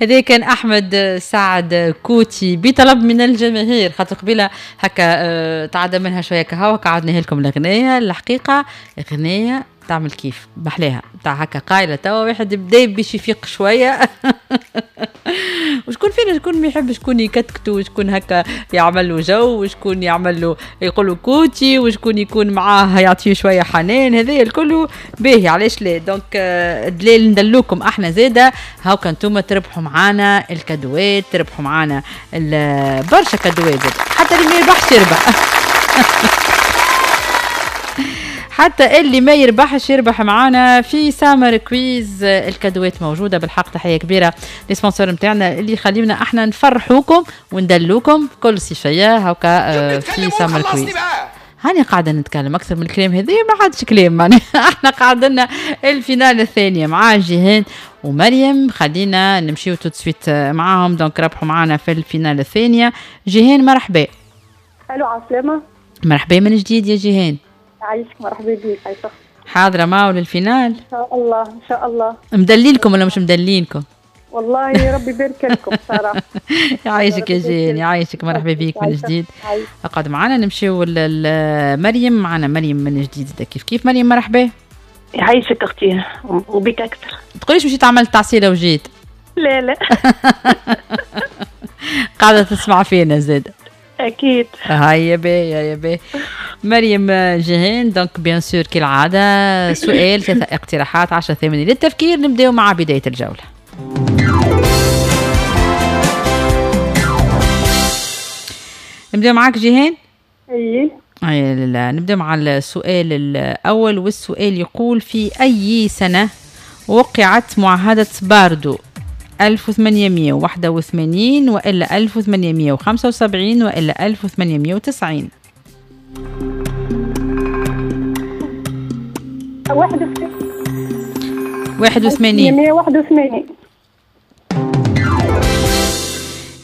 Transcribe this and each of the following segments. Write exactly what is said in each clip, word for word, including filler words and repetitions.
هذا كان احمد سعد كوتي بطلب من الجماهير، خاطر قبيلة هكا تعدى منها شوية كهوا قعدناها لكم الاغنية. الحقيقة اغنية تعمل كيف محلاها تاع هكا قايله توا واحد بدا باش يفيق شوية. وشكون فينا شكون ما يحب شكون يكتكتو، وشكون هكا يعمل له جو، وشكون يعمل له يقول له كوتي، وشكون يكون معاه يعطيه شوية حنان. هذايا الكل باهي، علاش لا. donc دليل ندلوكم احنا زاده، هاكا انتم تربحوا معانا الكادوات، تربحوا معانا برشا كادوات زاده، حتى اللي ما يربحش يربح. حتى اللي ما يربحش يربح معانا في سامر quiz. الكادوات موجودة بالحق. تحية كبيرة les sponsors نتاعنا اللي يخليونا احنا نفرحوكم وندلوكم كل صيفية هكا في سامر quiz. هاني قاعدة نتكلم اكثر من الكلام هذا ما عادش كلام معناها. احنا قعدنا ال finale الثانية مع جيهان ومريم، خلينا نمشيو tout de suite معاهم. donc ربحوا معانا في ال finale الثانية. جيهان مرحبا. الو عسلامة. مرحبا من جديد يا جيهان. عايشك، مرحبا بك. عايشك. حاضرة معه لل finale؟ ان شاء الله ان شاء الله. مدلينكم ولا مش مدلينكم؟ والله ربي يبارك لكم صراحة. يعيشك يا جيهان، يعيشك، مرحبا بك من جديد. اقعد معنا. نمشيو لمريم، معنا مريم من جديد كيف كيف. مريم مرحبا. يعيشك اختي وبك اكثر. تقوليش مشيت عملت تعسيله وجيت؟ لا لا. قاعدة تسمع فينا زاد. اكيد. هيا باهي هيا باهي. مريم جيهان، donc bien sûr كالعادة سؤال ثلاثة اقتراحات عشرة ثمانية للتفكير. نبداو مع بداية الجولة. نبداو معاك جيهان؟ اي اي لا، نبداو مع السؤال الاول، والسؤال يقول في اي سنة وقعت معاهدة باردو؟ ألف وثمانمائة وواحد وثمانين وإلا ألف وثمانمائة وخمسة وسبعين وإلا ألف وثمانمائة وتسعين؟ واحد وثمانين. واحد وثمانين.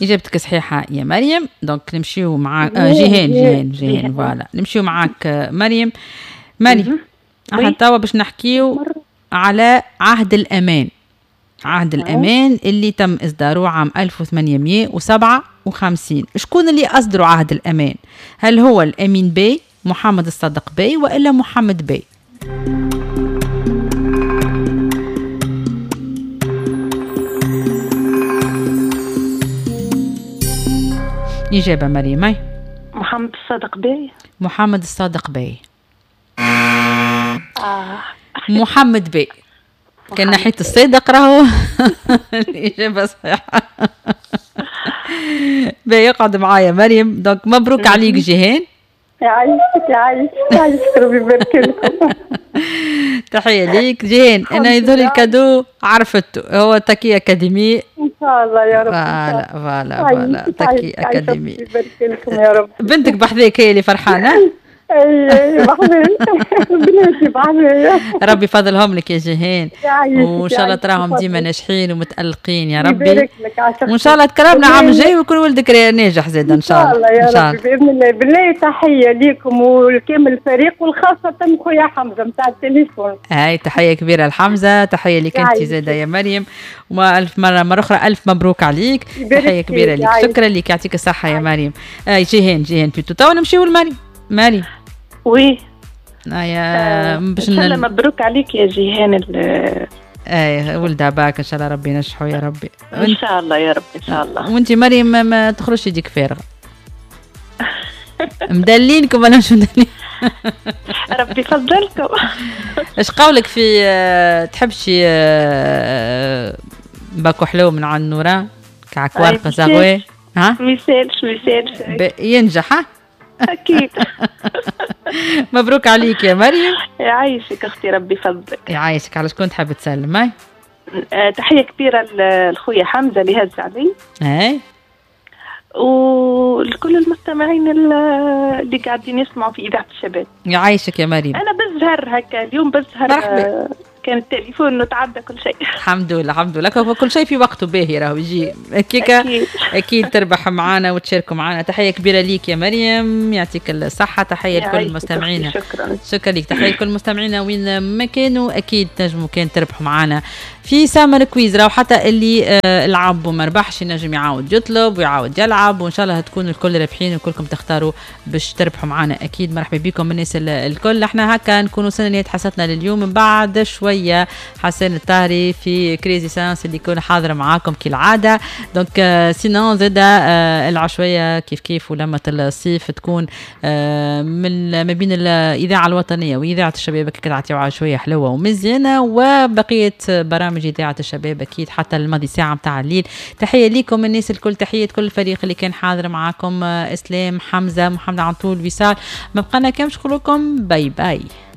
إجابتك صحيحة يا مريم. donc نمشيو مع آه جيهان جيهان جيهان voilà نمشيو معاك مريم. مريم احنا توا باش نحكيو على عهد الأمان. عهد الأمان اللي تم إصداره عام ألف وثمانمائة وسبعة وخمسين. شكون اللي أصدروا عهد الأمان؟ هل هو الأمين بي، محمد الصادق بي، وإلا محمد بي؟ إجابة مريم. محمد الصادق بي. محمد الصادق بي. آه. محمد بي. كان ناحية الصادق راهو الإجابة صحيحة. باهي يقعد معايا مريم. donc مبروك عليك جيهان. يعيشك يعيشك يعيشك ربي يبارك لكم. تحية ليك جيهان. أنا يظهر ال cadeau عرفته، هو تاكي أكاديمي. إن شاء الله يا رب. voilà voilà voilà تاكي أكاديمي. يبارك لكم يا رب. بنتك بحذاك هي اللي فرحانة. اي بناتي بحذايا. ربي يفضلهم لك يا جيهان، وان شاء الله تراهم ديما ناجحين ومتألقين يا ربي، وان شاء الله تكرمنا عام الجاي ويكون ولدك ناجح زاد ان شاء الله. ان شاء الله يا ربي باذن الله. بالله تحية ليكم ولكامل الفريق، وخاصة خويا حمزة نتاع التليفون. هاي تحية كبيرة لحمزة، تحية لك انت زاده يا مريم، والف مرة مرة اخرى الف مبروك عليك، تحية كبيرة لك، شكرا لك، يعطيك الصحة يا مريم. آه جيهان جيهان plutôt. توا نمشيو لمريم. مريم oui آه باش ان شاء الله مبروك عليك يا جيهان. ال اي ولدها باك ان شاء الله ربي ينجحوا يا ربي ان شاء الله يا رب ان شاء الله. وانت مريم ما تخرجش يديك فارغة. مدلينكم ولا مش مدلين؟ ربي يفضلكم. اش قولك في تحب شي باكو حلو من عند نوران كعك ورقة زغوي؟ ها ما يسالش ما يسالش ينجح. ها أكيد. مبروك عليك يا مريم. يعيشك أختي ربي يفضلك. يعيشك. على شكون تحب تسلم؟ هاي تحية كبيرة لخويا حمزة اللي هز علي. اي ولكل المستمعين اللي قاعدين يسمعوا في إذاعة الشباب. يعيشك يا مريم. أنا بالزهر هكا اليوم بالزهر كان التليفون وتعدى كل شيء. الحمد لله الحمد لله، كل شيء في وقته باهي راهو يجي هكاكا. اكيد. اكيد تربح معنا وتشاركوا معنا. تحية كبيرة ليك يا مريم، يعطيك الصحة. تحية لكل مستمعينا. شكرا شكرا لك. تحية لكل مستمعينا وين ما كانوا، اكيد تنجموا كان تربحوا معنا في Summer Quiz. راهو حتى اللي آه، لعب وما ربحش ينجم يعاود يطلب ويعاود يلعب، وان شاء الله تكونوا الكل رابحين وكلكم تختاروا باش تربحوا معنا. اكيد مرحبا بكم الناس الكل. احنا هكا نكونوا وصلنا لنهاية حصتنا لليوم. من بعد شوية حسين الطاهري في Crazy Science اللي يكون حاضر معاكم كالعاده. donc sinon زاده آه، العشويه كيف كيف ولمة الصيف تكون آه، من ما بين الاذاعة الوطنية واذاعة الشباب، كي عشويه حلوة ومزيانه، وبقية برامج اذاعة الشباب اكيد حتى الماضي ساعة متاع الليل. تحية لكم الناس الكل، تحية كل الفريق اللي كان حاضر معاكم، آه، اسلام، حمزه، محمد عنطول، وصال. ما بقانا كان نقول لكم bye bye.